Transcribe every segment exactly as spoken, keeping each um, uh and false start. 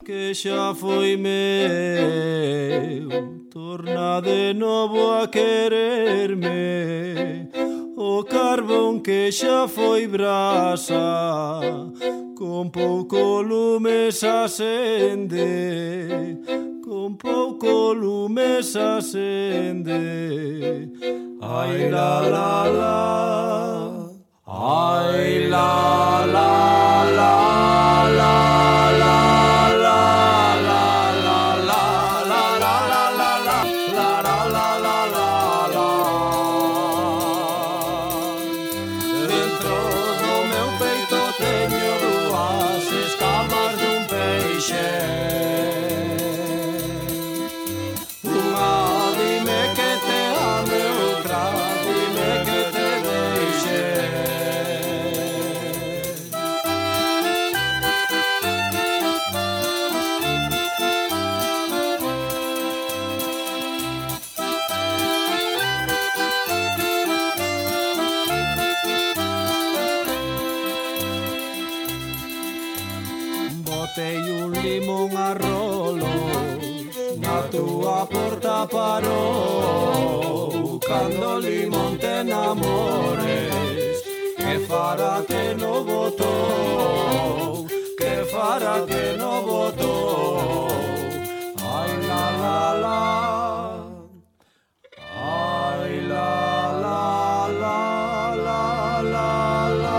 que xa foi meu, torna de novo a quererme. O carbón que xa foi brasa, con pouco lume se acende, con pouco lume se acende. Ai la la la, ai la la la la la la la la la la la la la la la la la. Dentro do meu peito teño dúas escamas dun peixe. Unha dime que te ame, outra dime que te deixe. Botei un limón a rolos, na túa porta parou. Cando o limón te enamores, que fará que no botou, que fará que no botou. Ai la la la, ai la la la la la la.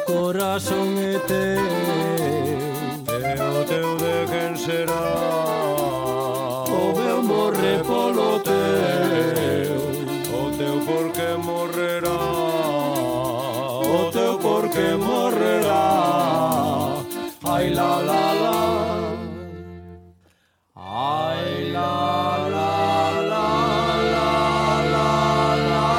Corazón é teu, teu, teu de quen será? O meu morre polo teu, o teu porque morrerá, o teu porque morrerá. Ai la la la, ai la la la la la la la la la.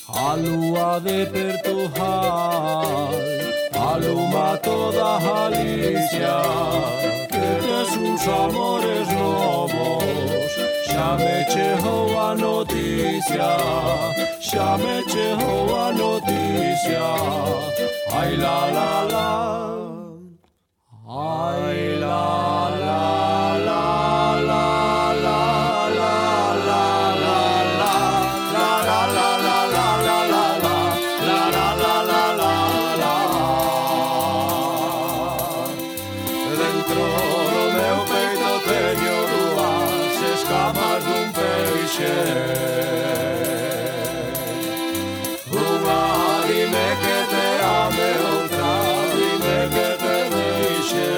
A lúa de Portugal aluma toda Galicia, que tes uns amores novos. Xa me chegou a noticia, xa me chegou a noticia. Ai la la la, ai la la la la la la la la la la la la la la la la la la la. Dentro do meu peito teño dúas escamas dun peixe. Unha dime que te ame, outra dime que te deixe.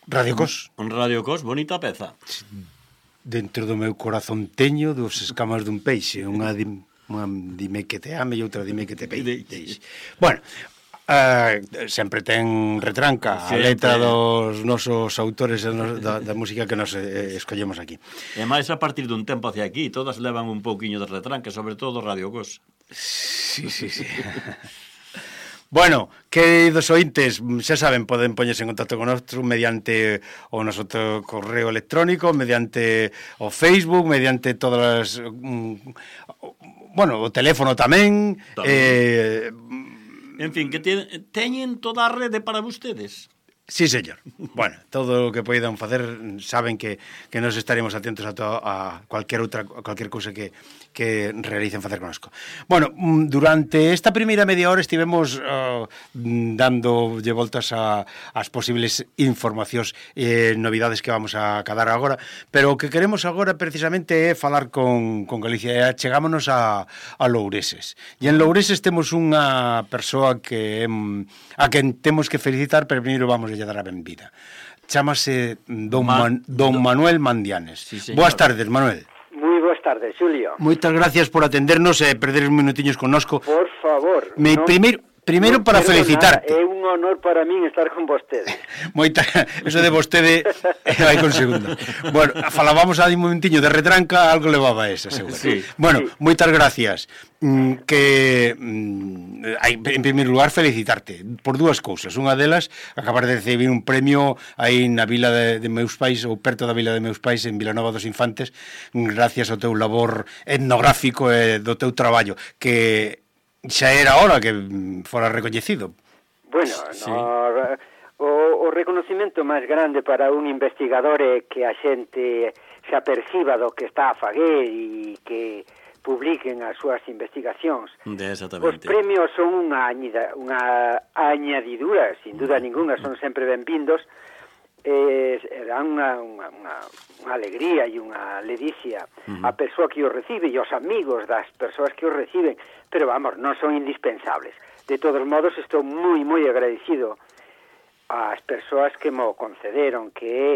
Radio Cos. Un Radio Cos, bonita peza. dentro do meu corazón teño dos escamas dun peixe, unha, di, unha dime que te ame e outra dime que te peixe. Bueno, Uh, sempre ten retranca a letra dos nosos autores da, da música que nos eh, escollemos aquí. E máis a partir dun tempo hacia aquí, todas levan un pouquiño de retranca, sobre todo Radio Cos. Sí, sí, sí. Bueno, queridos ointes, xa saben, poden poñerse en contacto con nosotros mediante o noso correo electrónico, mediante o Facebook, mediante todas as... Um, bueno, o teléfono tamén. tamén. Eh, En fin, que te, teñen toda a rede para vostedes. Sí, señor. Bueno, todo o que poidan facer, saben que, que nos estaremos atentos a, to, a cualquier outra, a cualquier cousa que, que realicen facer conosco. Bueno, durante esta primeira media hora estivemos uh, dándolle voltas a, as posibles informacións e eh, novidades que vamos a cadar agora, pero o que queremos agora precisamente é falar con, con Galicia, e chegámonos a, a Loureses. E en Loureses temos unha persoa que a quen temos que felicitar, pero primeiro vamos lle dar a benvida. Chámase Don, Man, Don Manuel Mandianes. Sí, boas tardes, Manuel. Moi boas tardes, Xulio. Moitas gracias por atendernos e perder uns minutiños connosco. Por favor. Me no, primeiro primeiro no para felicitarte. Nada, é un honor para min estar con vostede. Moita, eso de vostede vai con segundo. Bueno, falábamos aí un momentiño de retranca, algo levaba esa, seguro. Sí, bueno, sí. Moitas gracias. Mm, que mm, hai, en primeiro lugar, felicitarte por dúas cousas. Unha delas, acabar de recibir un premio aí na vila de, de meus pais, ou perto da vila de meus pais, en Vilanova dos Infantes, gracias ao teu labor etnográfico e do teu traballo, que xa era hora que fora recoñecido. Bueno, sí. no, o, o reconocimento máis grande para un investigador é que a xente se aperciba do que está a faguer e que publiquen as súas investigacións. Exactamente. Os premios son unha, añida, unha añadidura, sin duda ninguna, son sempre benvindos, eh, dan unha, unha, unha, unha alegría e unha ledicia uh-huh. a persoa que os recibe e os amigos das persoas que os reciben, pero vamos, non son indispensables. De todos modos, estou moi, moi agradecido ás persoas que mo concederon, que é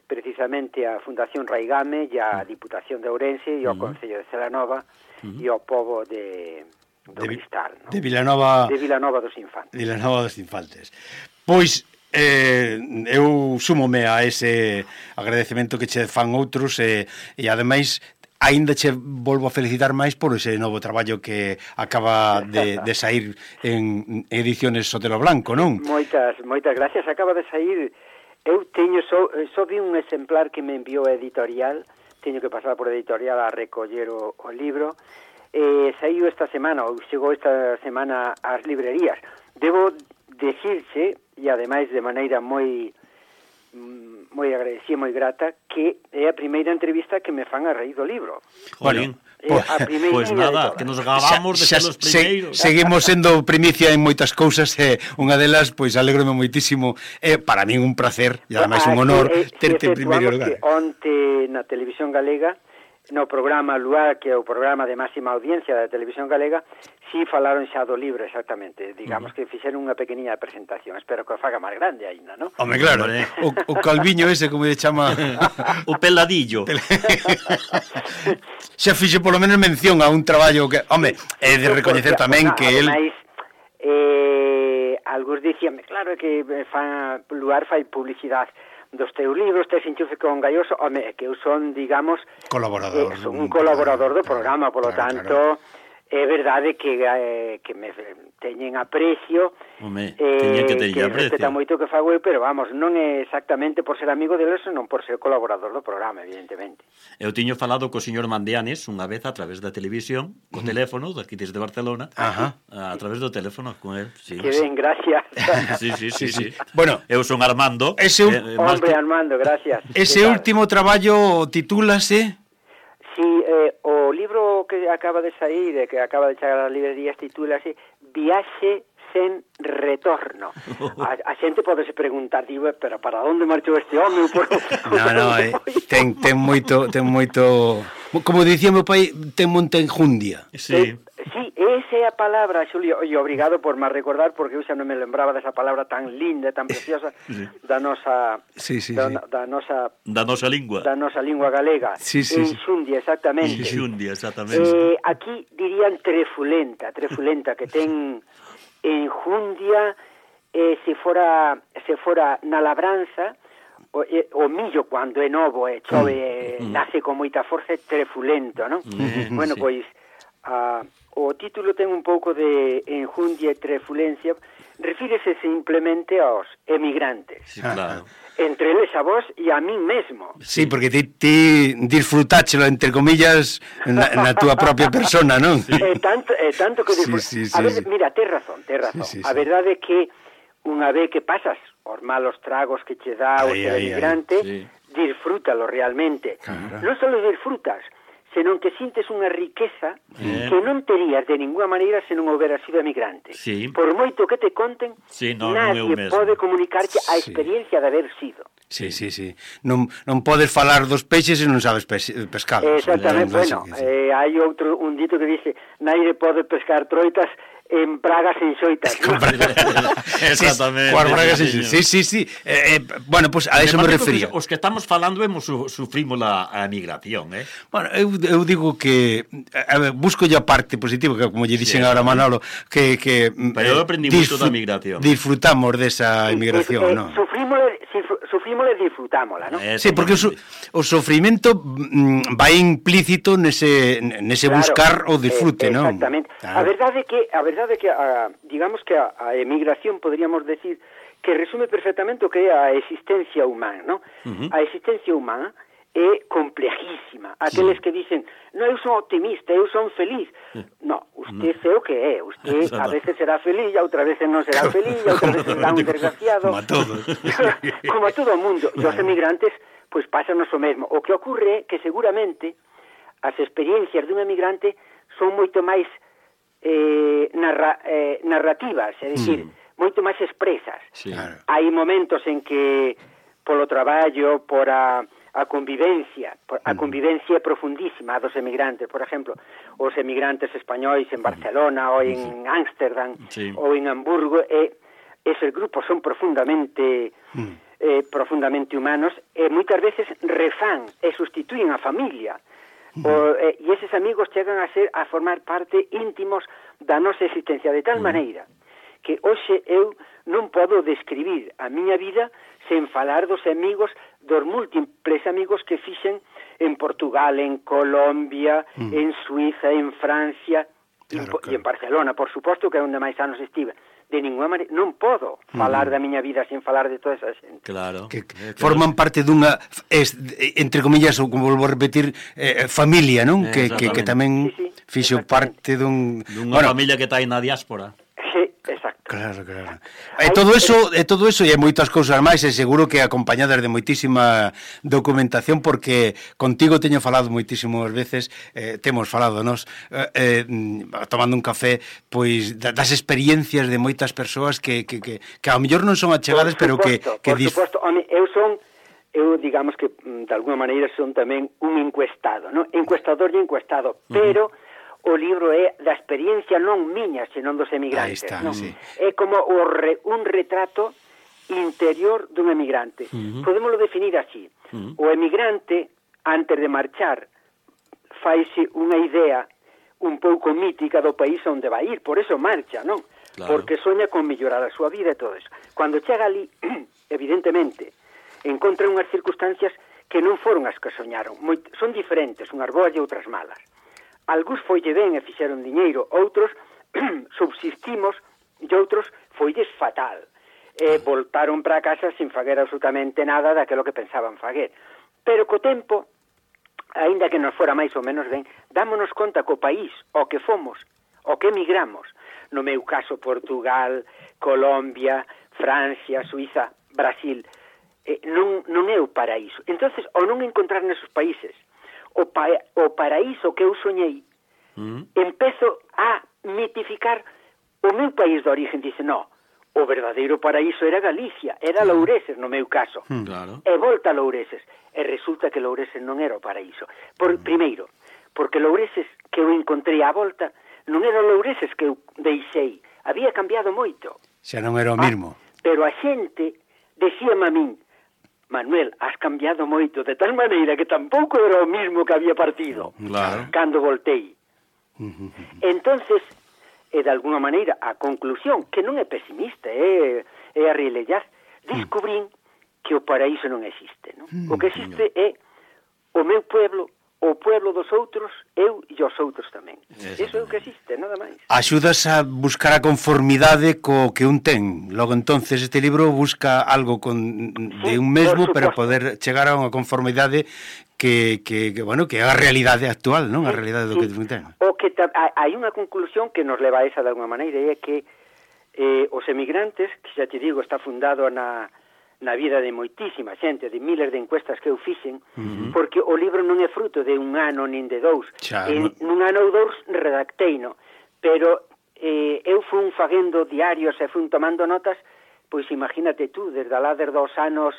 precisamente a Fundación Raigame e a Diputación de Ourense e o uh-huh. Concello de Celanova uh-huh. e o pobo de, do de, Cristal, ¿no? De Vilanova... De Vilanova dos Infantes. De Vilanova dos Infantes. Pois... Eh, eu súmome a ese agradecemento que che fan outros e, e ademais aínda che volvo a felicitar máis por ese novo traballo que acaba de, de sair en ediciones Sotelo Blanco, non? Moitas, moitas gracias, acaba de sair. Eu teño, só, só vi un exemplar que me enviou a editorial, teño que pasar por a editorial a recoller o, o libro, eh, saiu esta semana, ou chegou esta semana ás librerías. Debo decirse, e ademais de maneira moi moi agradecida, moi grata, que é a primeira entrevista que me fan a raíz do libro. Jolín, pois pues nada, que nos gabamos de ser os primeiros. Se, seguimos sendo primicia en moitas cousas e unha delas, pois alégrome moitísimo, é para min un placer e ademais un honor eh, terte en primeiro lugar. Que onte na Televisión Galega, no programa Luar, que é o programa de máxima audiencia da Televisión Galega, si falaron xa do libro, exactamente. Digamos uh-huh. que fixeron unha pequeniña presentación. Espero que o faga máis grande aínda, non? Home, claro. o, o calviño ese, como lle chama... o peladillo. Xa fixe polo menos mención a un traballo que... Home, é de recoñecer tamén que el... Ademais, eh, algúns dicíanme, claro, que fan, Luar fai publicidade dos teus libros, tes enchufe con Galloso, home, que eu son, digamos... Colaborador. Eh, son un colaborador do programa, polo claro, tanto... Claro. É verdade que, eh, que me teñen aprecio, Home, eh, que, que respeta moito que fago eu, pero vamos, non é exactamente por ser amigo deles, non por ser colaborador do programa, evidentemente. Eu tiño falado co señor Mandianes unha vez a través da televisión, co teléfono, daqui desde Barcelona, Ajá. a través do teléfono con él. Sí, que ben, gracias. sí, sí, sí, sí, sí. Bueno, eu son Armando. Ese, eh, hombre, que... Armando, gracias. Ese último traballo titúlase... Sí, eh, o libro que acaba de sair, eh, que acaba de chegar ás librerías, titúlase Viaxe sen retorno. A, a xente podese preguntar, digo, pero para onde marchou este home? Por... No, no, eh, ten, ten moito, ten moito... Como dicía meu pai, ten monta enjundia. Sí. Eh, sí, esa é a a palabra, Xulio, e obrigado por me recordar, porque eu xa non me lembraba desa palabra tan linda, tan preciosa sí. da nosa sí, sí, da, sí. da nosa da nosa lingua. Da nosa lingua galega. Sí, sí, enxundia, exactamente. Enxundia, exactamente. Eh, aquí dirían trefulenta, trefulenta que ten enjundia, eh, se fora se fora na labranza, o, eh, o millo cando é novo e chove, mm. nace con moita forza, é trefulento, non? Mm. Bueno, sí. pois a, o título ten un pouco de enjundia e trefulencia, refírese simplemente aos emigrantes. Sí, claro. Entre eles a vos e a min mesmo. Sí, porque ti, ti disfrutáchelo, entre comillas, na, na túa propia persona, non? Sí. É tanto, é tanto que disfrut... sí, sí, a ver, sí. mira, tes razón, tes razón. Sí, sí, a sí. verdade é que unha vez que pasas os malos tragos que che dá o ser emigrante, sí. disfrútalo realmente. Claro. Non só disfrutas, senón que sintes unha riqueza eh. que non terías de ninguna maneira se non houbera sido emigrante. Sí. Por moito que te conten, sí, no, nadie non pode comunicarte a sí. experiencia de haber sido. Sí, sí, sí. Non, non podes falar dos peixes se non sabes pescar. Exactamente, eh, bueno, sí. eh, hai outro, un dito que dice, naide pode pescar troitas en bragas en xoitas. Exactamente. Coas bragas en xoitas. Sí, sí, sí. Eh, eh, bueno, pues a eso me, me refería. Os que estamos falando hemos su, sufrimos a, a emigración, eh? Bueno, eu, eu digo que a ver, busco ya parte positiva, que como lle dixen sí, agora Manolo, que que pero eu aprendi moito da emigración. Disfrutamos desa emigración, eh, eh, non? Sufrimos sufrimos e disfrutámola, non? Sí, porque o, o sofrimento mm, vai implícito nese nese claro, buscar o disfrute, eh, non? Exactamente. Claro. A verdade é que a verdade é que a, digamos que a, a emigración podríamos decir que resume perfectamente o que é a existencia humana, non? Uh -huh. A existencia humana é complejísima. Aqueles sí. que dicen, no, eu son optimista, eu son feliz. No, usted no. é o que é. Usted a veces será feliz, a outras veces non será feliz, a outras veces será un desgraciado. Como a todos. Como a todo o mundo. E os emigrantes, pois, pues, pásanos o mesmo. O que ocurre é que seguramente as experiencias dun emigrante son moito máis eh, narra, eh, narrativas, é dicir, mm. moito máis expresas. Sí. Hai momentos en que polo traballo, por a a convivencia, a convivencia profundísima dos emigrantes, por exemplo, os emigrantes españois en Barcelona ou en Ámsterdam sí. ou en Hamburgo, e eses grupos son profundamente eh, profundamente humanos e moitas veces refán e sustituyen a familia. O, eh, e eses amigos chegan a ser a formar parte íntimos da nosa existencia de tal maneira que hoxe eu non podo describir a miña vida sen falar dos amigos, dos múltiples amigos que fixen en Portugal, en Colombia, mm. en Suiza, en Francia, claro, e, claro. en Barcelona, por suposto, que é onde máis anos estive. De ninguna maneira, non podo falar mm. da miña vida sen falar de toda esa xente. Claro. Que eh, forman parte dunha, es, entre comillas, ou como volvo a repetir, eh, familia, non? Eh, que, que, que tamén sí, sí, fixo parte dun... Dunha bueno, familia que está aí na diáspora. Exacto. Claro, claro. E todo eso, e todo eso e moitas cousas máis, e seguro que acompañadas de moitísima documentación, porque contigo teño falado moitísimas veces, eh, temos falado nos eh, eh, tomando un café, pois das experiencias de moitas persoas que que que que ao mellor non son achegadas, pero que que por suposto, home, eu son eu digamos que de alguma maneira son tamén un encuestado, non? Encuestador e encuestado, pero uh -huh. o libro é da experiencia non miña, senón dos emigrantes. Está, non? Sí. É como o re, un retrato interior dun emigrante. Uh -huh. Podémoslo definir así. Uh -huh. O emigrante, antes de marchar, faise unha idea un pouco mítica do país onde vai ir, por eso marcha, non? Claro. Porque soña con mellorar a súa vida e todo eso. Cando chega ali, evidentemente, encontra unhas circunstancias que non foron as que soñaron. Moi, son diferentes, unhas boas e outras malas. Algúns foille ben e fixeron diñeiro, outros subsistimos e outros foilles fatal. E voltaron para casa sin faguer absolutamente nada daquilo que pensaban faguer. Pero co tempo, aínda que nos fora máis ou menos ben, dámonos conta que o país, o que fomos, o que emigramos, no meu caso Portugal, Colombia, Francia, Suiza, Brasil, eh, non, non é o paraíso. Entonces, ao non encontrar nesos países o, pa o paraíso que eu soñei, mm. empezo a mitificar o meu país de origen. Dice, no, o verdadeiro paraíso era Galicia, era claro. Loureses, no meu caso. Mm. Claro. E volta a Loureses. E resulta que Loureses non era o paraíso. Por, mm. Primeiro, porque Loureses que eu encontrei á volta non era o Loureses que eu deixei, había cambiado moito. Xa non era o mismo. Ah, pero a xente decíame a min, Manuel, has cambiado moito, de tal maneira que tampouco era o mismo que había partido. Claro. Cando voltei. Uh-huh. Entonces, e de alguna maneira, a conclusión, que non é pesimista, é, é a relellar, descubrín que o paraíso non existe, non? O que existe é o meu pueblo, o pueblo dos outros, eu e os outros tamén. Eso é o que existe, nada máis. Axudas a buscar a conformidade co que un ten. Logo, entonces, este libro busca algo con, de un mesmo para poder chegar a unha conformidade que, que, que, bueno, que é a realidade actual, non? A realidade do sí. que un ten. O que ta, hai unha conclusión que nos leva a esa de alguma maneira, e é que eh, os emigrantes, que xa te digo, está fundado na... na vida de moitísima xente, de miles de encuestas que eu fixen, uh-huh. porque o libro non é fruto de un ano nin de dous. Xa, en, nun ano ou dous redacteino, pero eh, eu fun faguendo diarios e fun tomando notas, pois imagínate tú, desde lá desde os anos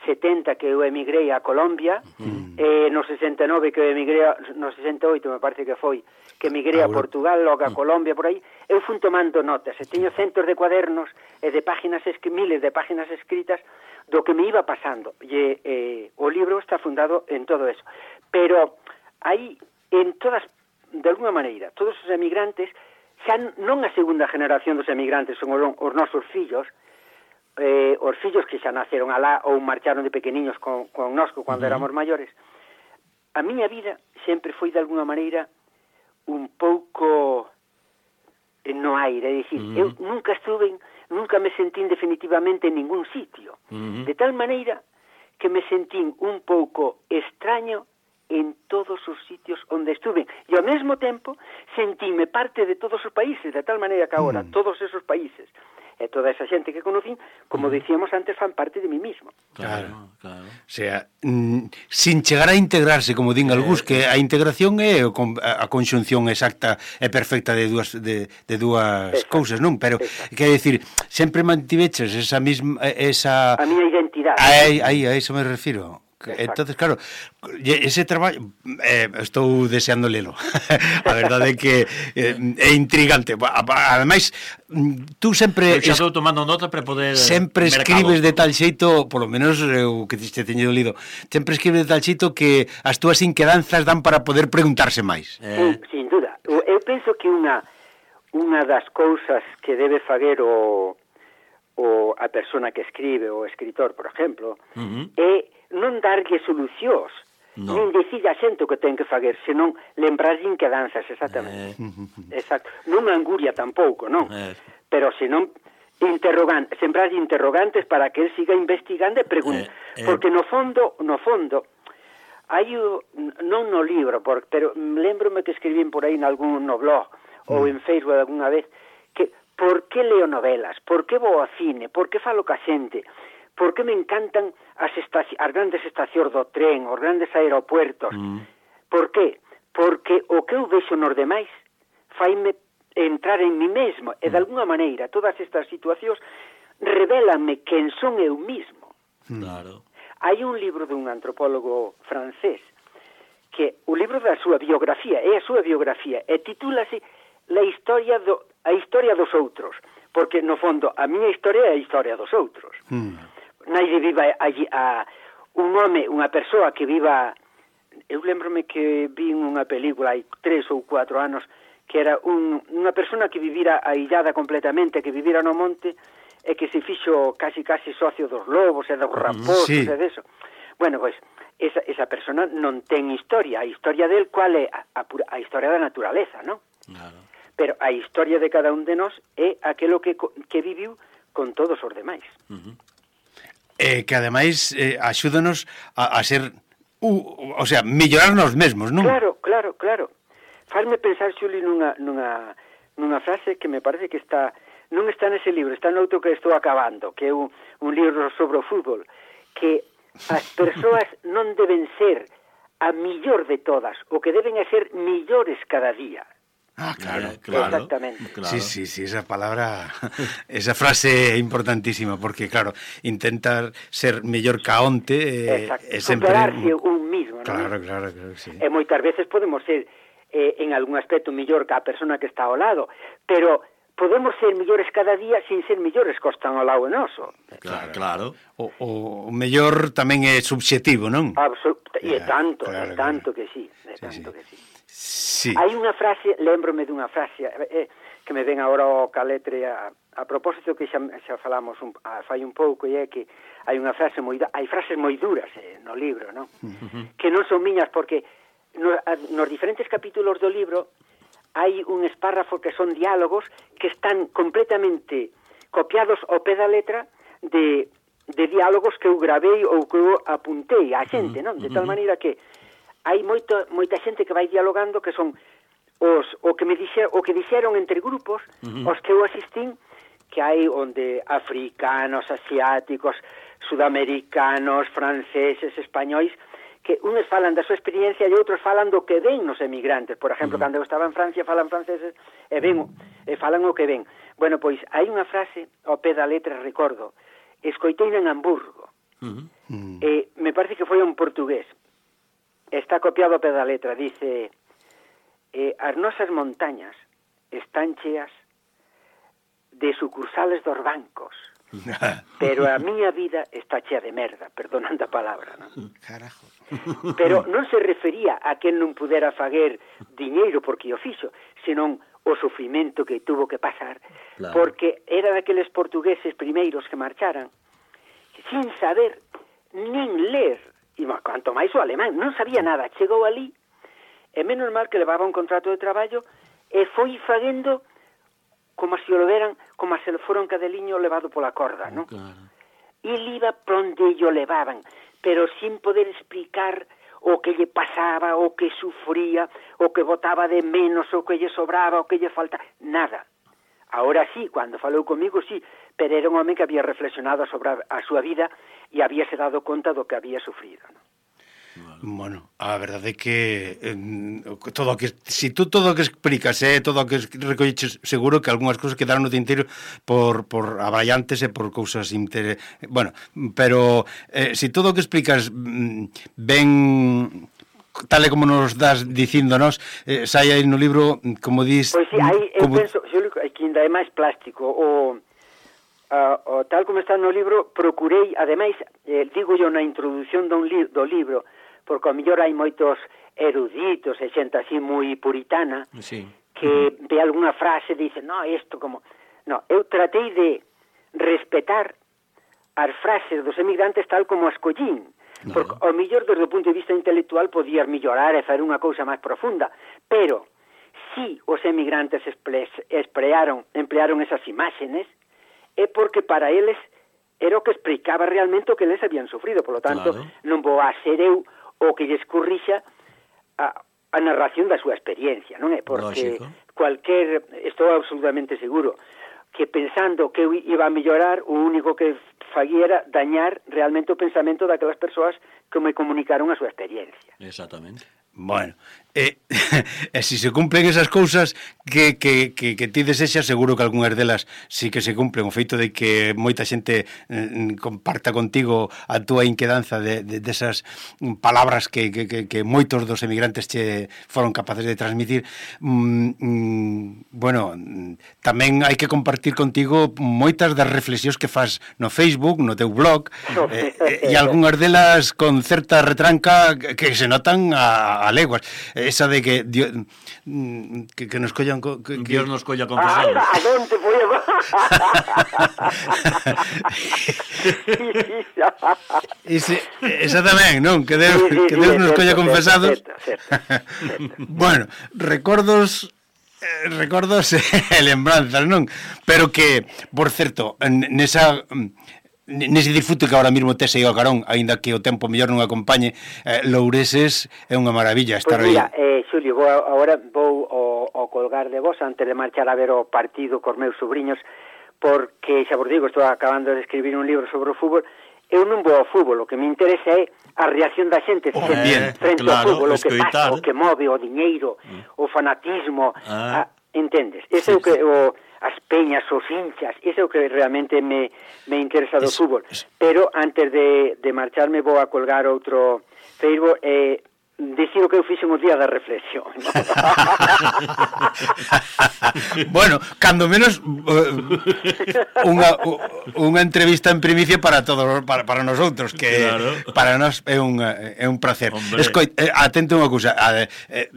setenta que eu emigrei a Colombia, uh-huh. eh, no sesenta e nove que eu emigrei, a, no sesenta e oito me parece que foi, que emigrei a Portugal, logo a uh-huh. Colombia, por aí, eu fun tomando notas, e teño centos de cuadernos e de páginas, miles de páginas escritas do que me iba pasando, e eh, o libro está fundado en todo eso. Pero aí, en todas, de alguna maneira, todos os emigrantes, xa non a segunda generación dos emigrantes son os, os nosos fillos, eh, os fillos que xa naceron alá ou marcharon de pequeniños con, con nosco cando uh-huh. éramos maiores. A miña vida sempre foi de alguna maneira un pouco no aire, é dicir, uh-huh. eu nunca estuve, nunca me sentín definitivamente en ningún sitio, uh-huh. de tal maneira que me sentín un pouco extraño en todos os sitios onde estuve, e ao mesmo tempo sentíme parte de todos os países, de tal maneira que agora uh-huh. todos esos países e toda esa xente que conocín, como uh-huh. dicíamos antes, fan parte de mí mismo. Claro, claro. O sea, mm, sin chegar a integrarse, como din algúns, que a integración é a conxunción exacta e perfecta de dúas de, de dúas exacto. cousas, non? Pero, quer decir, sempre mantiveches esa mesma esa a miña identidade. Aí, aí, a iso me refiro. Exacto. Entonces, claro, ese traballo eh, estou deseando lelo. A verdade é que eh, é intrigante. Ademais, tú sempre eu xa estou tomando nota para poder sempre escribes mercado. De tal xeito, polo menos o que te teño lido, sempre escribes de tal xeito que as túas inquedanzas dan para poder preguntarse máis. Eh. Sí, sin duda. Eu penso que unha unha das cousas que debe fager o o a persona que escribe, o escritor, por exemplo, uh-huh. é non darlle solucións, no. nin dicir a xente o que ten que fager, senón lembrar inquedanzas, exactamente. Eh. Exacto. Non anguria tampouco, non? Eh. Pero senón interrogan, sembrar interrogantes para que el siga investigando e pregunte, eh, eh. porque no fondo, no fondo, hai o, non no libro, por, pero lembrome que escribín por aí en algún no blog, mm. ou en Facebook alguna vez, que por que leo novelas, por que vou ao cine, por que falo ca xente, por que me encantan as, estaci- as grandes estacións do tren, os grandes aeropuertos, mm. por que? Porque o que eu vexo nos demais faime entrar en mí mesmo, e de alguna maneira todas estas situacións revélanme quen son eu mismo. Claro. Hai un libro dun antropólogo francés que o libro da súa biografía é a súa biografía e titúlase La historia do, a historia dos outros, porque no fondo a miña historia é a historia dos outros. Mm. Naide viva allí a un home, unha persoa que viva, eu lembrome que vi unha película hai tres ou cuatro anos que era un, unha persona que vivira aillada completamente, que vivira no monte e que se fixo casi casi socio dos lobos e dos raposos sí. e deso. Bueno, pois, esa, esa persona non ten historia. A historia del cual é a, a, a historia da naturaleza, non? Claro. Pero a historia de cada un de nós é aquilo que, que viviu con todos os demais. Uh-huh. Eh, que ademais eh, axúdanos a, a ser, uh, o sea, mellorarnos mesmos, non? Claro, claro, claro. Farme pensar, Xuli, nunha, nunha, nunha frase que me parece que está, non está nese libro, está noutro que estou acabando, que é un, un libro sobre o fútbol, que as persoas non deben ser a millor de todas, o que deben é ser millores cada día. Ah, claro, eh, claro. Exactamente. Claro. Sí, sí, sí, esa palabra, esa frase é importantísima, porque, claro, intentar ser mellor ca onte... Eh, Exacto, é sempre... superarse un mismo, claro, non? Claro, claro, claro, sí. E moitas veces podemos ser eh, en algún aspecto mellor que a persona que está ao lado, pero podemos ser millores cada día sin ser millores que están ao lado noso. Claro, claro. O, o mellor tamén é subxetivo, non? Absolut e Yeah, tanto, claro, e tanto claro. que sí, e tanto sí. que sí. Sí. Hai unha frase, lembrome dunha frase eh, que me ven agora ao caletre a, a propósito que xa, xa falamos un, a, fai un pouco, e é que hai unha frase moi hai frases moi duras eh, no libro, non? Uh-huh. Que non son miñas porque no, a, nos diferentes capítulos do libro hai un espárrafo que son diálogos que están completamente copiados ao pé da letra de, de diálogos que eu gravei ou que eu apuntei á xente, non? De tal maneira que hai moito, moita xente que vai dialogando que son os o que me dixer, o que dixeron entre grupos, uh-huh. os que eu asistín, que hai onde africanos, asiáticos, sudamericanos, franceses, españois, que unos falan da súa experiencia e outros falan do que ven nos emigrantes. Por exemplo, uh-huh. cando eu estaba en Francia falan franceses e ven e falan o que ven. Bueno, pois hai unha frase ao pé da letra, recordo, escoitei en Hamburgo. Uh-huh. E me parece que foi un portugués. Está copiado a pé da letra, dice eh, as nosas montañas están cheas de sucursales dos bancos, pero a miña vida está chea de merda, perdonando a palabra, non? Carajo. Pero non se refería a que non pudera faguer diñeiro porque o fixo, senón o sufrimento que tuvo que pasar, claro. Porque era daqueles portugueses primeiros que marcharan sin saber nin ler. E canto máis o alemán, non sabía nada, chegou ali, e menos mal que levaba un contrato de traballo, e foi faguendo como se o veran, como se fora un cadeliño levado pola corda, non? Claro. E ele iba pronde o levaban, pero sin poder explicar o que lle pasaba, o que sufría, o que botaba de menos, o que lle sobraba, o que lle falta, nada. Ahora sí, cando falou comigo, sí, pero era un home que había reflexionado sobre a súa vida e habíase dado conta do que había sufrido, non? Bueno, a verdade é que eh, todo o que si tú todo o que explicas, eh, todo o que recolleches, seguro que algunhas cousas quedaron no tinteiro por por aballantes e por cousas inter... bueno, pero eh, si todo o que explicas ben tal e como nos das dicíndonos, eh, sai aí no libro, como dis... Pois si, aí eu como... penso, Xulio, que ainda é máis plástico, o, uh, o tal como está no libro, procurei, ademais, eh, digo yo na introdución do, li do libro, porque ao mellor hai moitos eruditos e xente así moi puritana, sí. que uh-huh. ve algunha frase e dice, no, isto como... No, eu tratei de respetar as frases dos emigrantes tal como as collín, no. Porque ao mellor desde o punto de vista intelectual podías mellorar e fazer unha cousa máis profunda, pero si os emigrantes emplearon, emplearon esas imágenes é porque para eles era o que explicaba realmente o que eles habían sufrido, por lo tanto claro. Non vou a ser eu o que lles corrixa a, a narración da súa experiencia, non é? Porque Lógico. Cualquier, estou absolutamente seguro que pensando que eu iba a mellorar, o único que faguera dañar realmente o pensamento daquelas persoas que me comunicaron a súa experiencia. Exactamente. Bueno, e, e se se cumplen esas cousas que, que, que, que ti desexas, seguro que algunhas delas sí que se cumplen. O feito de que moita xente eh, comparta contigo a túa inquedanza de, de, de esas palabras que, que, que, que moitos dos emigrantes che foron capaces de transmitir. Mm, mm, bueno, tamén hai que compartir contigo moitas das reflexións que fas no Facebook, no teu blog, eh, eh, e algunhas delas con certa retranca que, que se notan a a leguas, esa de que Dios, que, que nos collan que, que... Dios nos colla confesados. Ah, ¿a dónde voy a... Ese, esa tamén, non? Que Deus, sí, sí, que Deus sí, nos colla confesados. Certo, certo, certo. Bueno, recordos eh, recordos e lembranzas, non? Pero que, por certo, nesa nese disfrute que ahora mesmo tes aí ao carón, aínda que o tempo mellor non acompañe, eh, Loureses é unha maravilla estar pues mira, aí. Eh, Xulio, vou, agora vou o, o colgar de vos antes de marchar a ver o partido cos meus sobrinhos, porque, xa vos digo, estou acabando de escribir un libro sobre o fútbol. Eu non vou ao fútbol, o que me interesa é a reacción da xente oh, bien, frente claro, ao fútbol, o que escoitar. pasa, o que move, o diñeiro, mm. o fanatismo, ah. a, entendes? Ese sí, é o que... O, as peñas, os hinchas, iso é o que realmente me, me interesa do es, fútbol. Es... Pero antes de, de marcharme vou a colgar outro Facebook, e dicir o que eu fixen o día da reflexión, ¿no? Bueno, cando menos uh, unha, unha entrevista en primicia para todos, para, para nosotros, que claro. Para nós é un, é un placer. Escoit, eh, atento unha cousa, a, eh,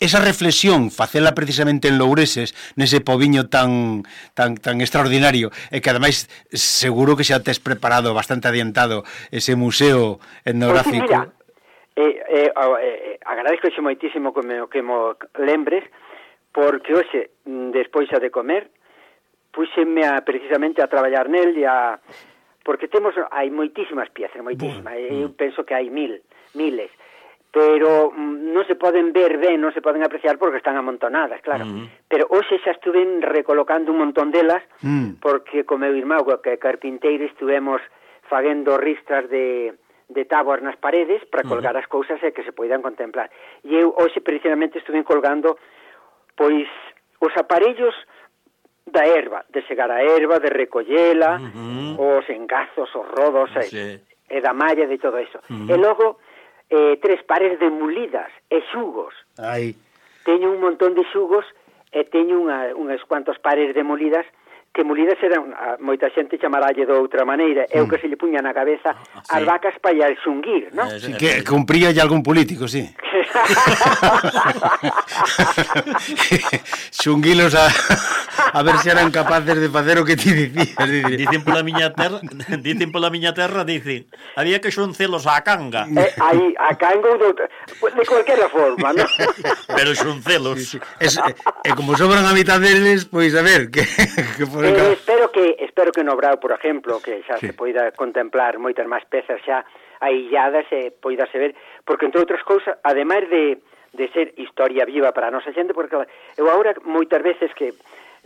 esa reflexión, facela precisamente en Loureses, nese poviño tan tan tan extraordinario, e que ademais seguro que xa tes preparado bastante adiantado ese museo etnográfico. Pues, mira, Eh, eh, eh, agradezco xe moitísimo que me, que mo lembres, porque hoxe, despois a de comer, puxeme a, precisamente a traballar nel e a, porque temos, hai moitísimas piezas, moitísimas, mm. eu penso que hai mil, miles, pero mm, non se poden ver ben, non se poden apreciar porque están amontonadas, claro, mm. pero hoxe xa estuve recolocando un montón delas, mm. porque co meu irmão, que é carpinteiro, estuvemos fagendo ristras de de táboas nas paredes para colgar uh-huh. as cousas e que se poidan contemplar. E eu hoxe precisamente estuve colgando pois os aparellos da erva, de segar a erva, de recollela, uh-huh. os engazos, os rodos sí. e, e da malla, de todo eso. Uh-huh. E logo eh, tres pares de mulidas e xugos. Ai. Teño un montón de xugos e teño unha, unhas cuantos pares de mulidas que molidas eran, moita xente chamaralle de outra maneira, é o que se lle puña na cabeza ah, sí. as vacas para ir xunguir, non? Sí, que cumpría ya algún político, sí. Xunguilos a, a ver se eran capaces de facer o que ti dicías. Dicen pola miña terra, dicen pola miña terra, dicen, había que xuncelos á canga. Eh, aí, a canga ou de, de cualquiera forma, non? Pero xuncelos. Sí, sí. Es, e eh, como sobran a mitad deles, pois a ver, que... que Eh, espero que espero que no Brao, por exemplo, que xa sí. se poida contemplar moitas máis pezas xa ailladas e poidase ver, porque entre outras cousas, ademais de, de ser historia viva para a nosa xente, porque eu agora moitas veces que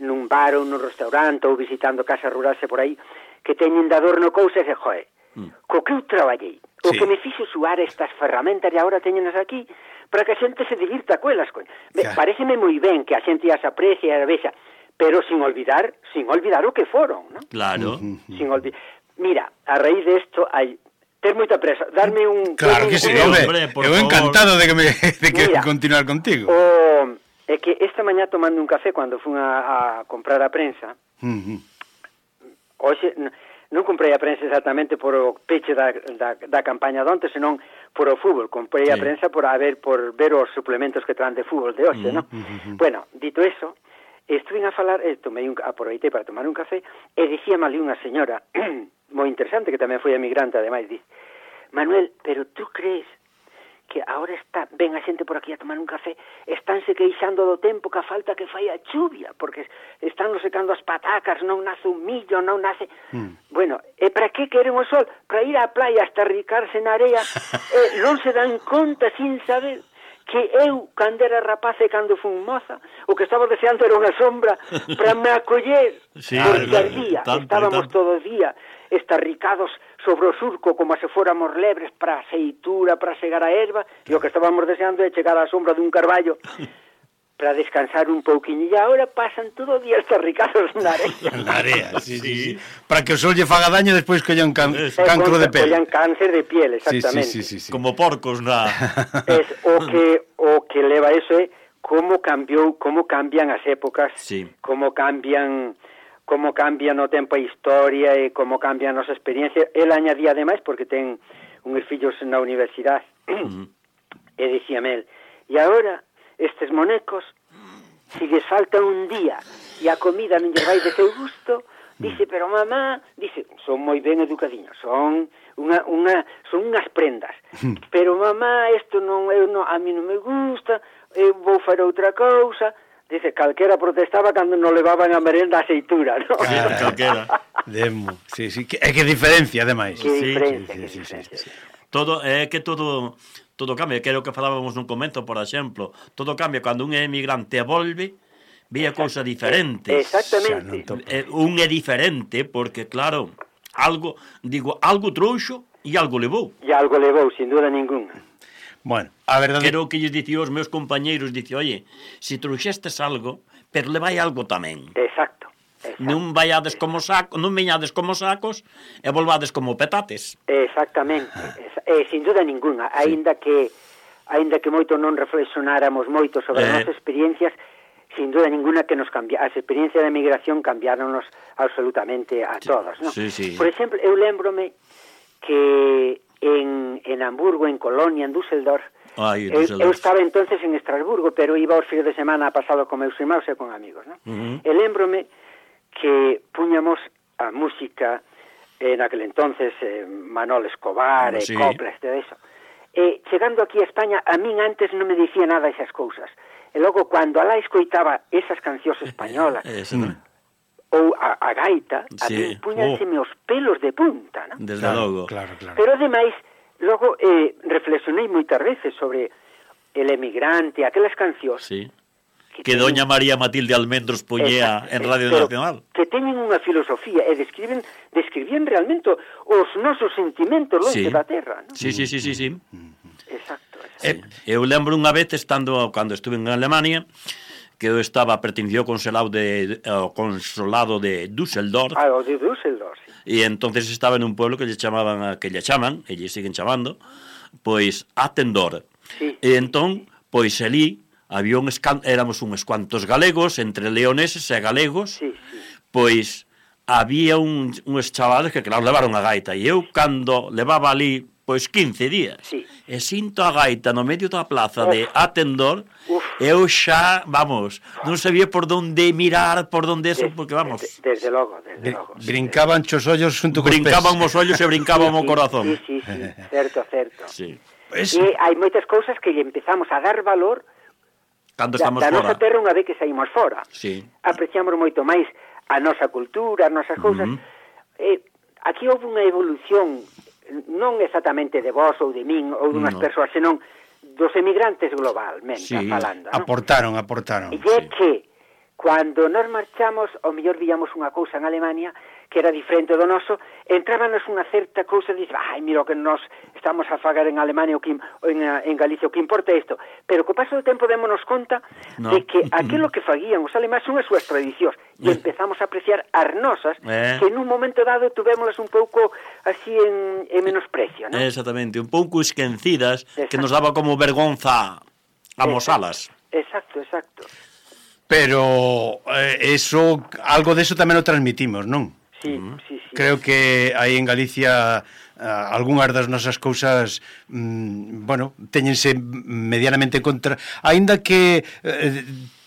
nun bar ou nun restaurante ou visitando casas rurais e por aí, que teñen de adorno cousas e, joe, mm. co que eu traballei, o sí. que me fixo suar estas ferramentas e agora teñenas aquí, para que a xente se divirta coelas, coño. Claro. Pareceme moi ben que a xente as aprecie e a vexa, pero sin olvidar, sin olvidar o que foron, ¿no? Claro. Sin olvidar. Mira, a raíz de esto hay ter moita presa, darme un Claro que sí, hombre, eu encantado de que me de que Mira, continuar contigo. O é que esta mañá tomando un café cando fun a, a comprar a prensa. Uh-huh. Hoxe non comprei a prensa exactamente por o peche da, da, da campaña de onte, senón por o fútbol. Comprei sí. a prensa por a ver por ver os suplementos que traen de fútbol de hoxe, uh-huh. ¿no? Uh-huh. Bueno, dito eso, estuve a falar, eh, tomei un, aproveitei para tomar un café e dicíame ali unha señora moi interesante que tamén foi emigrante, ademais, dice: Manuel, pero tú crees que agora está ven a xente por aquí a tomar un café, estánse queixando do tempo que a falta que fai a chuvia, porque están secando as patacas, non nace un millo, non nace... Mm. Bueno, e para que queren o sol? Para ir á playa hasta ricarse na area, e non se dan conta sin saber que eu, cando era rapaz e cando fun moza, o que estaba deseando era unha sombra para me acoller, sí, porque claro, ardía, tanto, estábamos tanto. todo o día estarricados sobre o surco como se fóramos lebres para a seitura, para segar a erva, e o que estábamos deseando é chegar á sombra dun carballo para descansar un pouquiño, e agora pasan todo o día estarricados na area. Na area, sí, sí, sí. Para que o sol lle faga daño despois que collan can, cancro de pele. Collan cáncer de piel, exactamente. Sí, sí, sí, sí, sí. Como porcos na... Es o que o que leva eso é como cambiou, como cambian as épocas, sí. como cambian como cambian o tempo a historia e como cambian as experiencias. El añadía ademais, porque ten unhos fillos na universidade, uh-huh. e dicíame el, e agora estes monecos, si les falta un día e a comida non lle vai de seu gusto, dice, pero mamá, dice, son moi ben educadiños, son unha, unha, son unhas prendas, pero mamá, isto non, eu non, a mí non me gusta, eu vou fazer outra cousa. Dice, calquera protestaba cando non levaban a merenda a aceitura, ¿no? Claro, calquera. Demo, sí, sí, que, é que diferencia, ademais. Que diferencia, sí, que sí, diferencia. Sí, sí, sí. Todo, é que todo... Todo cambia, que era o que falábamos nun comento, por exemplo. Todo cambia cando un emigrante volve, ve a cousa diferente. Exactamente. Eh, un é diferente porque, claro, algo, digo, algo trouxo e algo levou. E algo levou, sin duda ninguna. Bueno, a verdade... Quero que lles dicía aos meus compañeiros, dice, oye, se si trouxestes algo, pero levai algo tamén. Exacto. Exacto. Non vaiades como sacos, non veñades como sacos e volvades como petates. Exactamente. Eh, sin duda ninguna, aínda sí. que aínda que moito non reflexionáramos moito sobre Eh. as nosas experiencias, sin duda ninguna que nos cambia, as experiencias de migración cambiáronos absolutamente a todos, ¿no? Sí, sí. Por exemplo, eu lembrome que en, en Hamburgo, en Colonia, en Düsseldorf, Ai, eu, Düsseldorf. eu estaba entonces en Estrasburgo, pero iba aos fines de semana pasado con meus irmãos e con amigos, ¿no? Uh-huh. E lembrome que puñamos a música en aquel entonces eh, Manol Escobar, Sí. e Coplas, todo eso. E chegando aquí a España, a min antes non me dicía nada esas cousas. E logo, cando alá escoitaba esas cancións españolas, Eso, ¿no? ou a, a gaita, a Sí. min puñanseme os pelos de punta, ¿no? Desde Claro, logo. claro, claro. Pero ademais, logo eh, reflexionei moitas veces sobre el emigrante, aquelas cancións Sí. Que doña María Matilde Almendros poñía Exacto, en Radio pero Nacional. que teñen unha filosofía e describen describían realmente os nosos sentimentos longe Sí. da terra, ¿no? Sí, sí, sí, sí, sí. Exacto. exacto. Sí. Eu lembro unha vez estando cando estuve en Alemania que eu estaba pertencido ao consulado de ao consulado de Düsseldorf Ah, o de Düsseldorf, sí. e entonces estaba en un pueblo que lle chamaban a- que lle chaman, e lle siguen chamando, pois Attendor. Sí. E entón, pois ali había un escan... éramos uns cuantos galegos, entre leoneses e galegos, Sí, sí. pois había un, uns chavales que claro levaron a gaita e eu cando levaba ali pois quince días Sí. e sinto a gaita no medio da plaza de Uf. Attendor, Uf. eu xa, vamos, non sabía por donde mirar, por donde eso, Des- porque vamos, des- desde logo, desde Brin- logo. Brincaban chos ollos xunto cos brincaban pés. os ollos e brincaban o corazón. Sí, sí, sí, certo, certo. Sí. Pues, E hai moitas cousas que lle empezamos a dar valor Cando da, estamos da fora. nosa terra unha vez que saímos fora. Sí. Apreciamos moito máis a nosa cultura, as nosas cousas. Ujú. Eh, aquí houve unha evolución non exactamente de vos ou de min ou dunhas No. persoas, senón dos emigrantes globalmente Sí. falando, non? aportaron, aportaron. E é Sí. que cando nos marchamos, ao mellor víamos unha cousa en Alemania que era diferente do noso, entrábanos unha certa cousa, dice, ai, mira o que nos estamos a fagar en Alemania ou que, ou en, en Galicia, o que importa isto. Pero co paso do tempo démonos conta No. de que aquilo que faguían os alemáns son as súas tradicións e empezamos a apreciar as nosas, Eh. que nun momento dado tuvémolas un pouco así en, en menosprecio, non? Exactamente, un pouco esquecidas, que Exacto. nos daba como vergonza amosalas. Exacto, exacto. Pero eh, eso, algo de eso tamén o transmitimos, non? Sí, sí, sí. Creo que aí en Galicia ah, algunhas das nosas cousas mm, bueno, teñense medianamente contra, aínda que eh,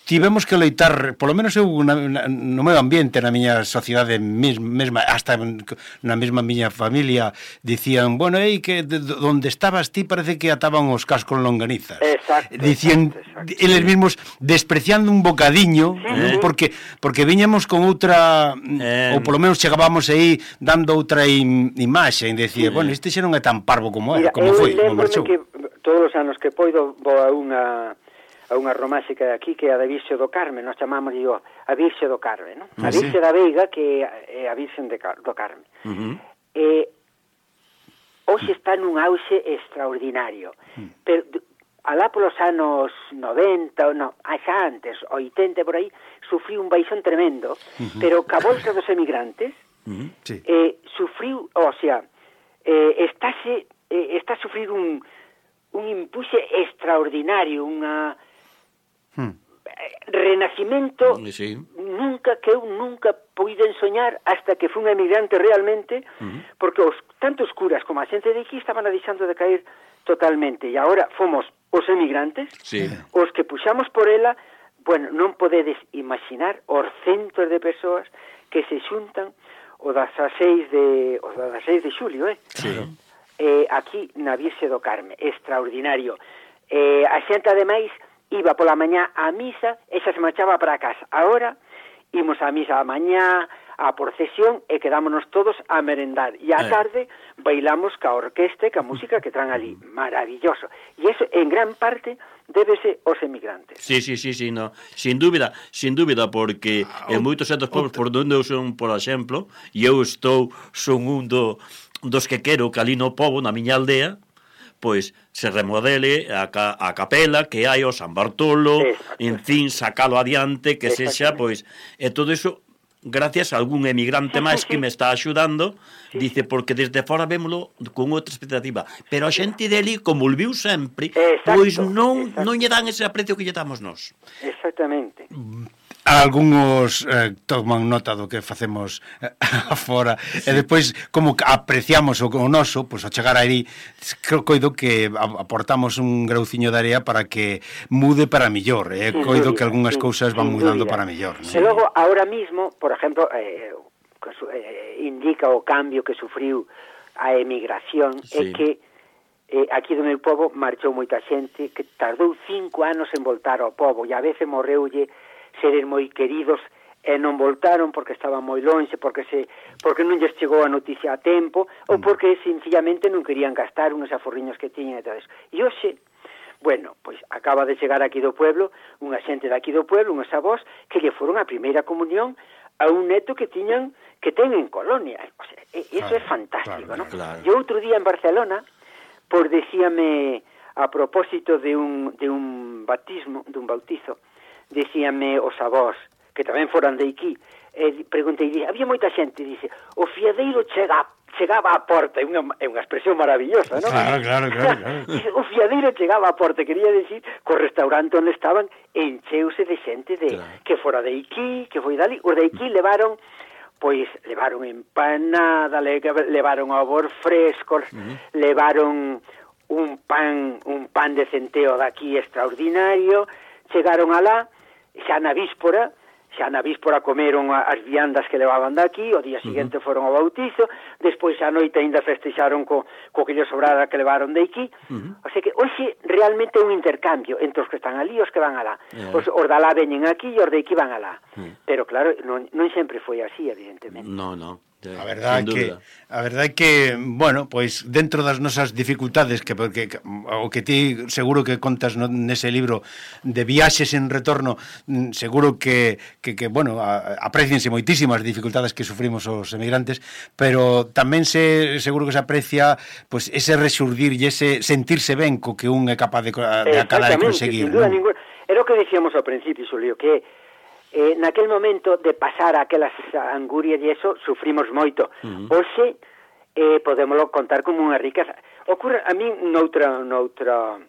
tivemos que loitar, polo menos eu na, na, no meu ambiente, na miña sociedade mes, mesma, hasta na mesma miña familia dicían, bueno, ei, que de, de, onde estabas ti parece que ataban os cascos con longanizas. Exacto, Dicían, exacto, exacto. eles mesmos despreciando un bocadiño, Sí. non? porque porque viñamos con outra Eh, ou polo menos chegábamos aí dando outra im, imaxe, e decía, bueno, este xa non é tan parvo como é, Mira, como eu foi, como lembrome marchou. que todos os anos que poido vou a unha a unha romáxe que hai aquí que é a da Virxe do Carme, nós chamamos digo, a Virxe do Carme, non? A Ah, sí. Virxe da Veiga que é a Virxe de Car do Carme. Uh-huh. E hoxe está nun auxe extraordinario. Hmm. Pero d- alá polos anos noventa, ou non, xa antes, oitenta por aí, sufriu un baixón tremendo, pero ca volta dos emigrantes Uh-huh. Sí. eh, sufriu, o sea, eh, estáse, eh, está a sufrir un, un impulse extraordinario, unha Hmm. eh, renacimento Sí. nunca que eu nunca puiden soñar hasta que fui un emigrante realmente, Uh-huh. porque os tanto os curas como a xente de aquí estaban a deixando de caer totalmente, e agora fomos os emigrantes Sí. os que puxamos por ela. Bueno, non podedes imaginar os centos de persoas que se xuntan o dezaseis de o dezaseis de xulio, eh? Sí. Eh, aquí na Virxe do Carme, extraordinario. Eh, a xente ademais iba pola mañá á misa e xa se marchaba para a casa. Agora imos á misa a mañá, a procesión e quedámonos todos a merendar. E á Eh. tarde bailamos ca orquesta e ca música que traen ali. Maravilloso. E eso en gran parte débese aos emigrantes. Sí, sí, sí, sí, no. Sin dúbida, sin dúbida, porque en moitos outros povos por onde eu son, por exemplo, e eu estou, son un do, dos que quero que ali no pobo, na miña aldea, pois se remodele a, ca, a capela que hai o San Bartolo, Exacto. en fin, sacalo adiante, que sexa, Exactamente. pois, e todo iso gracias a algún emigrante máis que me está axudando, Sí, dice, porque desde fora vémolo con outra expectativa. Pero a xente deli, como o viu sempre, Exacto, pois non, exacto. non lle dan ese aprecio que lle damos nós. Exactamente. Algúns eh, toman nota do que facemos eh, afora sí. E despois como que apreciamos o, o noso, pois ao chegar aí coido que aportamos un grauciño de area para que mude para millor, eh? Coido dúbida, que algunhas sin, cousas van sin mudando dúbida. para millor, ¿no? E logo, ahora mismo, por exemplo, eh, eh, indica o cambio que sufriu a emigración, Sí. é que eh, aquí do meu pobo marchou moita xente que tardou cinco anos en voltar ao pobo, e a veces morreulle seres moi queridos e non voltaron porque estaban moi lonxe, porque se porque non lles chegou a noticia a tempo, ou porque sencillamente non querían gastar uns aforriños que tiñan e todo eso. E hoxe, bueno, pois acaba de chegar aquí do pueblo unha xente daqui do pueblo, uns avós que lle foron a primeira comunión a un neto que tiñan que ten en Colonia. O sea, eso claro, é fantástico, claro, ¿no? claro. E outro día en Barcelona, por decíame a propósito de un de un bautismo, de un bautizo, decíame os avós, que tamén foran de aquí, e preguntei, había moita xente, dice, o fiadeiro chega, chegaba á porta, é unha, é unha expresión maravillosa, non? Claro, claro, claro, claro. Dice, o fiadeiro chegaba á porta, quería decir que o restaurante onde estaban encheuse de xente de, Claro. que fora de aquí, que foi dali, os de aquí levaron, pois, levaron empanada, le, levaron ovos frescos, uh-huh. levaron un pan, un pan de centeo daqui extraordinario, chegaron alá, xa na víspora, xa na víspora comeron as viandas que levaban daqui, o día seguinte uh-huh. foron ao bautizo, despois a noite ainda festexaron co, co que lle sobrara que levaron de aquí, uh-huh. o sea que hoxe realmente é un intercambio entre os que están ali e os que van alá. Yeah. Os, os de alá veñen aquí e os de aquí van alá. Uh-huh. Pero claro, non, non sempre foi así, evidentemente. No, no. A verdade é que a verdade é que, bueno, pois dentro das nosas dificultades que porque o que ti seguro que contas no, nese libro de viaxes en retorno, seguro que que, que bueno, apreciense moitísimas dificultades que sufrimos os emigrantes, pero tamén se seguro que se aprecia pois ese resurdir e ese sentirse ben co que un é capaz de, de acabar de conseguir, sin duda, ¿no? Ningún... Era o que decíamos ao principio, Xulio, que Eh, naquel momento de pasar aquelas angurias e eso, sufrimos moito. Uh-huh. Hoxe eh, podémoslo contar como unha riqueza. Ocurre a mí noutra, noutra,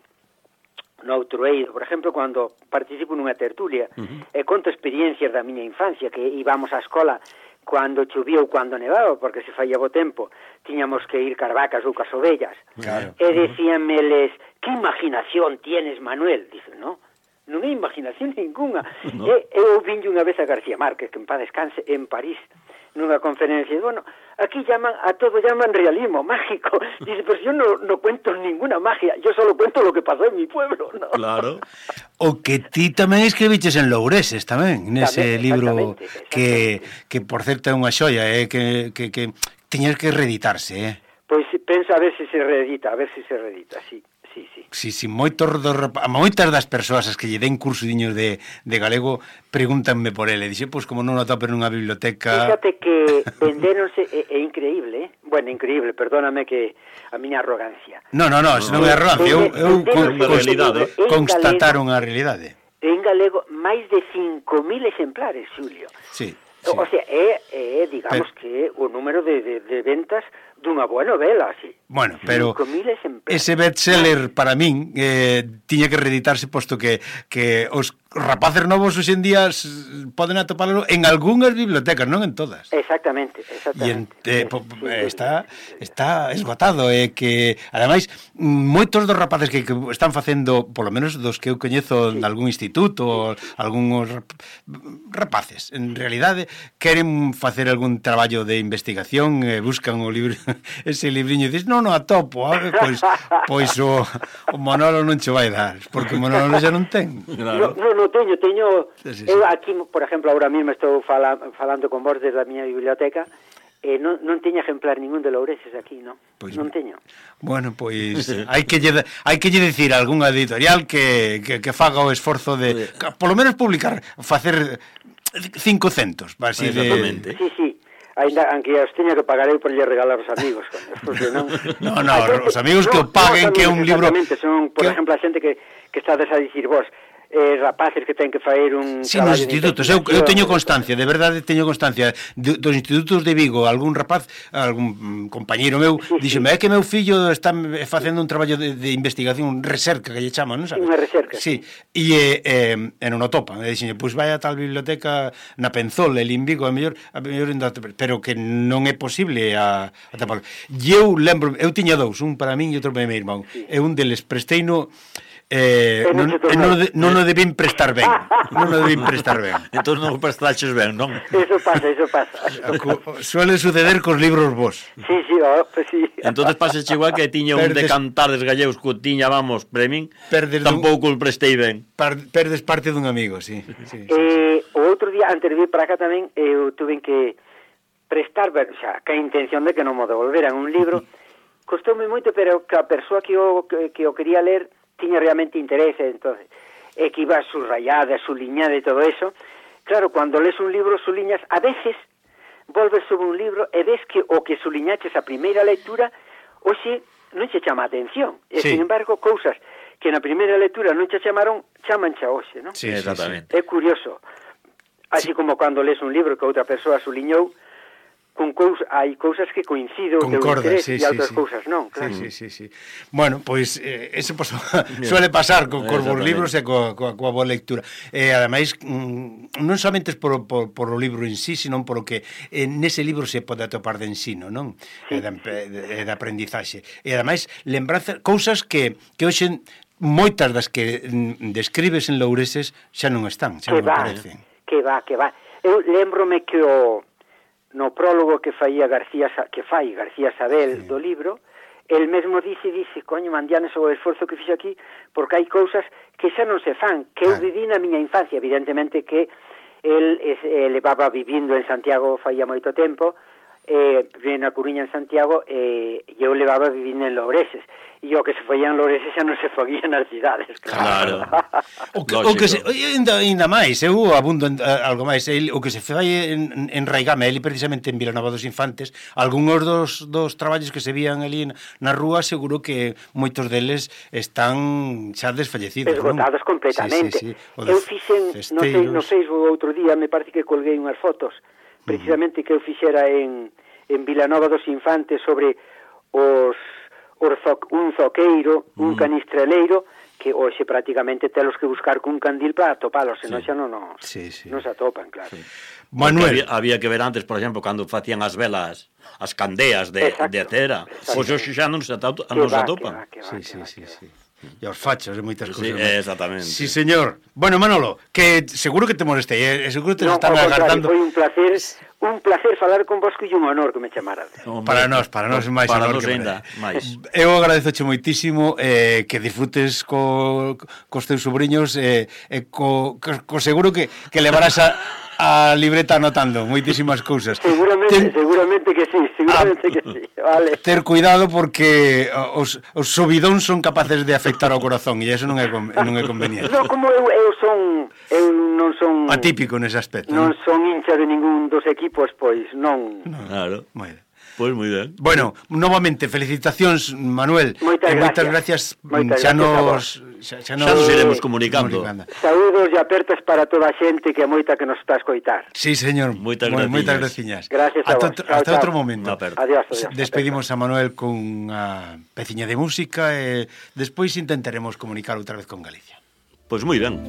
noutro eido, por exemplo, cando participo nunha tertulia, uh-huh. e conto experiencias da miña infancia, que íbamos á escola cando chovía ou cando nevaba, porque se falla bo tempo, tiñamos que ir carvacas ou cas ovellas. Claro. E decíanmeles, que imaginación tienes, Manuel? Dicen, no, non é imaginación ninguna. No. E, eu vinlle unha vez a García Márquez, que en paz descanse, en París, nunha conferencia, bueno, aquí llaman, a todo llaman realismo mágico. Dice, pero yo no, no cuento ninguna magia, yo solo cuento lo que pasó en mi pueblo, ¿no? Claro. O que ti tamén escribiches en Loureses, tamén, nese tamén, libro exactamente, que, que, por certo, é unha xoia, eh, que, que, que tiñas que reeditarse, eh? Pois pensa a ver se se reedita, a ver se se reedita, sí. Sí, sí. Sí, sí, moitos dos, moitas das persoas as que lle den cursidiños de, de galego pregúntanme por ele. Dixe, pois, como non o atopen nunha biblioteca... Fíjate que vendéronse, é, é increíble, eh? Bueno, increíble, perdóname que a miña arrogancia. No, no, no, non é arrogancia, eu, eu con, realidade, constataron a realidade. En galego, máis de cinco mil exemplares, Xulio. Sí. Sí. O sea, é, é digamos, pero, que o número de, de, de ventas dunha boa novela, así. Bueno, pero ese bestseller bestseller para min eh, tiña que reeditarse, posto que, que os rapaces novos hoxe en día poden atopalo en algunhas bibliotecas, non en todas. Exactamente, exactamente. E en, eh, po, sí, está, está esgotado, e eh, que, ademais, moitos dos rapaces que, que están facendo, polo menos dos que eu coñezo sí. de algún instituto, sí. algúns rapaces, en realidade, queren facer algún traballo de investigación, eh, buscan o libro, ese libriño, e dices, non, non, atopo, a ver, pois, pois o, o Manolo non che vai dar, porque o Manolo xa non ten. Claro. No, no, no teño, teño, sí, sí, sí. Eu aquí, por exemplo, ahora mesmo estou fala, falando con vos desde a miña biblioteca, e non, non teño ejemplar ningún de Loureses aquí, non? Pois, non teño. Bueno, pois hai que lle, hai que lle dicir a algunha editorial que, que, que faga o esforzo de, que, polo menos publicar, facer cinco centos, así de... Sí, sí. Ainda, aunque os teña que pagar eu por lle regalar aos amigos, porque non... No, no, os amigos que o paguen, no, que é un libro... Exactamente, son, por que... exemplo, a xente que, que estades a dicir vos, eh, rapaces que ten que faer un Sí, nos traballo de institutos, eu, eu investigación. teño constancia, de verdade teño constancia de, dos institutos de Vigo, algún rapaz, algún mm, compañeiro meu, Sí, sí. díxeme, é que meu fillo está facendo un traballo de, de investigación, recerca que lle chaman, non sabes? Unha recerca. Sí, e, eh, eh, e non o topan, e dixen, pois vai a tal biblioteca na Penzola, el in Vigo, a mellor, a mellor ainda, pero que non é posible a, a tapar. E eu lembro, eu tiña dous, un para min e outro para meu irmão, Sí. e un deles presteino Eh, E non non, se tornou. non, de- non o debín prestar ben. Non o debín prestar ben. Entón non o prestaches ben, non? Eso pasa, eso pasa. Co- Suele suceder cos libros vos. Sí, sí, oh, pues sí. Entón paseche igual que tiña un de Perdes- cantares gallegos que o tiña, vamos, para min, Perdes dun- tampouco o prestei ben. Par, perdes parte dun amigo, sí. sí, sí, sí. Eh, o outro día, antes de vir para acá tamén, eu tuve que prestar, o sea, que a intención de que non mo devolveran un libro, costoume moito, pero que a persoa que o, que, que o quería ler tiña realmente interese, entonces, e que iba subrayada, suliñada e todo eso. Claro, cuando lees un libro, suliñas, a veces volves sobre un libro e ves que o que suliñaches a primeira lectura, hoxe non che chama a atención. E, Sí. sin embargo, cousas que na primeira lectura non che chamaron, chaman xa hoxe, non? Sí, sí, Exactamente. É curioso. Así como cando lees un libro que outra persoa suliñou, con cousa, hai cousas que coincido o teu Concorda, interés sí, e sí, outras sí. cousas non, claro. Sí, sí, sí, sí. Bueno, pois eh, eso pues, suele pasar co, cos vos Exactamente. libros e coa, coa, coa boa lectura. E eh, ademais, mm, non somente por, por, por o libro en sí, sino por o que eh, nese libro se pode atopar de ensino, non? Sí. E de, de, de aprendizaxe. E ademais, lembranza, cousas que, que hoxe moitas das que mm, describes en Loureses xa non están, xa Que non va, aparecen. que va, que va. Eu lembrome que o no prólogo que faía García Sa- que fai García Sabel Sí. do libro, el mesmo dice, dice, coño, mandianes o esforzo que fixe aquí, porque hai cousas que xa non se fan, que eu Claro. viví na miña infancia, evidentemente que el es, eh, levaba vivindo en Santiago faía moito tempo, eh, vive na Coruña en Santiago, e eh, eu levaba vivindo en Loureses, e o que se foía en Loureses xa non se foía nas cidades, Claro. O que, o que se, Lógico. ainda, ainda máis, eu abundo en, a, algo máis, el, o que se fai en, en Raigame, eli precisamente en Vilanova dos Infantes, algúns dos, dos traballos que se vían ali na rúa, seguro que moitos deles están xa desfallecidos, esgotados non? completamente. Sí, sí, sí. O de Eu fixen, non sei, no Cesteiros. Facebook outro día, me parece que colguei unhas fotos, precisamente que eu fixera en, en Vilanova dos Infantes sobre os, os zo, un zoqueiro, un canistreleiro, que hoxe prácticamente telos que buscar cun candil para atopalos, senón xa non, nos, Sí, sí. non se atopan, claro. Manuel, Había, había que ver antes, por exemplo, cando facían as velas, as candeas de, Exacto, de cera. exacto. Pois hoxe xa non se, atopan, Que non se va, atopan. que va, que va, sí, que sí, va, sí, que va. sí. E os fachos e moitas Sí, cousas. non? exactamente. Sí, señor. Bueno, Manolo, que seguro que te molestei, eh? seguro que te Non, están ao contrario, agardando. foi un placer, un placer falar con vos e un honor que me chamarades. Hombre, Para nós, para nós é máis para honor nós que ainda, para máis. Eu agradezoche moitísimo eh, que disfrutes co, cos teus sobrinhos e eh, eh, co, co, co seguro que, que levarás a, a libreta anotando moitísimas cousas. Seguramente, Ten, seguramente que sí, seguramente que sí, vale. ter cuidado porque os, os subidóns son capaces de afectar ao corazón e eso non é, con- non é conveniente. No, como eu, eu son, eu non son... Atípico nese aspecto. Non Non? son hincha de ningún dos equipos, pois non... Claro. Moi ben. Pois moi ben. Bueno, novamente, felicitacións, Manuel. Moitas e moitas gracias. gracias. Moitas xa gracias a nos, vos. xa, Xa nos iremos comunicando. Saúdos e apertas para toda a xente que é moita que nos está a escoitar. Sí, señor. Moitas Moi- graciñas. Moitas graciñas. Gracias a Hasta, vos. outro- Chao, hasta chao. outro momento. Unha aperta. Adiós, adiós. Despedimos a Manuel con unha peciña de música e despois intentaremos comunicar outra vez con Galicia. Pois moi ben.